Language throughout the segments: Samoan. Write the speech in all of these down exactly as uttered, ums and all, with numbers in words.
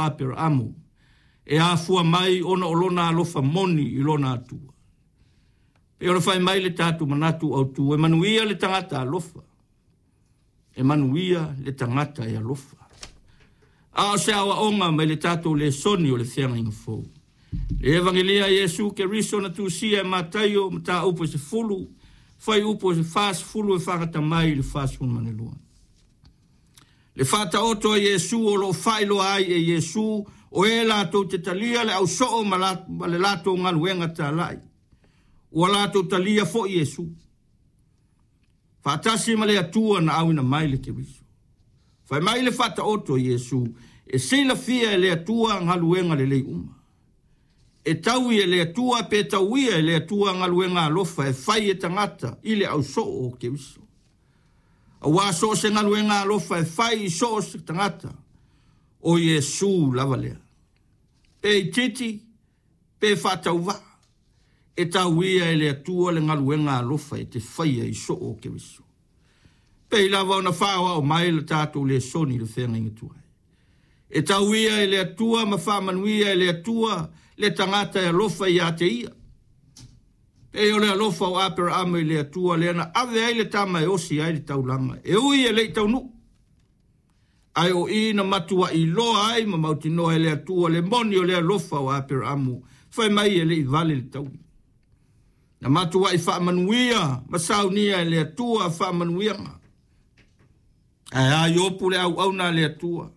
Aperaamo e afua mai ona o lona alofa moni i lona Atua. E ona fai mai le tatou manatu autu, e manuia le tagata alofa, e manuia le tagata e alofa. A o se aoaoga mai le tatou lesoni o le feagaiga fou. Le Evangelia Iesu Keriso na tusia e Mataio mataupu e sefulu, fuaiupu e fasefulu e faagata mai i le fasefulumalua. Le faataoto a Iesu o loo faailoa ai e Iesu o e latou te talia le ausoo ma, la, ma le latou galuega talai. Ua latou talia foi Iesu. Faatasi ma le Atua na auina mai le Keriso. Fai mai le faataoto a Iesu e silafia e le Atua galuega lelei uma. E taui e le Atua pe tauia e le Atua galuega alofa e fai e tagata i le ausoo o Keriso. Auā so o se galuega alofa e fai i so o se tagata o Iesu lava lea. Pe itiiti, pe faatauvaa, e tauia e le Atua le galuega alofa e te faia i soo o Keriso. Pei lava ona faaoao mai le tatou lesoni i le feagaiga tuai. E tauia e le Atua ma faamanuia e le Atua le tagata e alofa ia te ia. Pei o le alofa o Aperaamo i le Atua lea na ave ai le tama e osi ai le taulaga. E ui e le i taunuu. Ae o i na matuai iloa ai ma mautinoa e le Atua le moni o le alofa o Aperaamo, fai mai e le i vale le taui. Na matuai faamanuia ma saunia e le Atua faamanuiaga. Ae a Iopu le auauna a le Atua.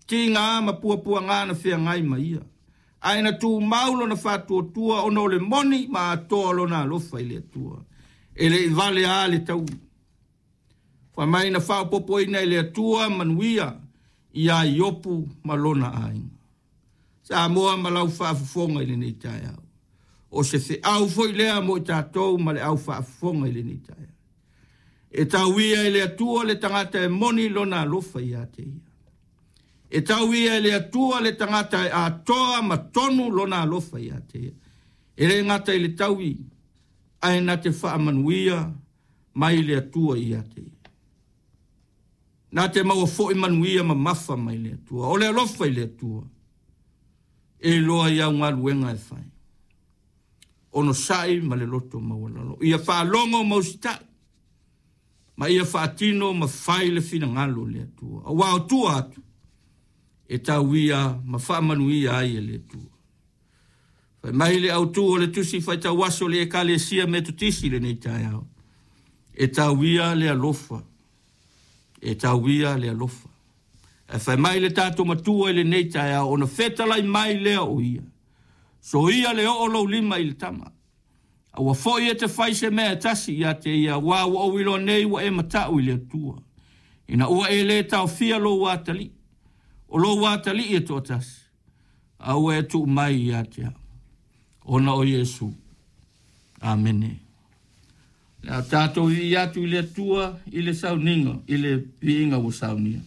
Tiga ma puapuaga na feagai ma ia. Ae na tumau lona faatuatua ona o le moni ma atoa lona alofa i le Atua. E le i vale a le taui. Fai mai na faaopoopoina e le Atua manuia ia Iopu ma lona aiga. Samoa ma lau faafofoga i lenei taeao. O se feau foi lea mo i tatou ma le au faafofoga i lenei taeao. E tauia e le Atua le tagata e moni lona alofa ia te ia. E tauia e le Atua le tagata e atoa ma tonu lona alofa ia te ia. E le gata i le taui, ae na te faamanuia mai le Atua ia te ia. Na te maua foi manuia mamafa mai le Atua. O le alofa i le Atua, e iloa i au galuega e fai. Onosai ma le loto maualalo. Ia faalogo ma usitai, ma ia faatino ma fai le finagalo o le Atua. Auā o tua atu, e tauia ma faamanuia ai e le Atua. Fai mai le autu o le tusi faitauaso le Ekalesia Metotisi lenei taeao. E tauia le alofa. E tauia le alofa. E fai mai le tatou matua i lenei taeao, ona fetalai mai lea o ia. Soia le oo lou lima i le tama. A ua foi e te fai se mea e tasi ia te ia, auā ua ou iloa nei ua e matau i le Atua. Ina ua e le taofia lou atalii. O lou atalii e toatasi. A ua e tuu mai ia te au. Ona o Iesu. Amene. Le a tatou viia atu i le Atua i le sauniga, i le viiga ua saunia.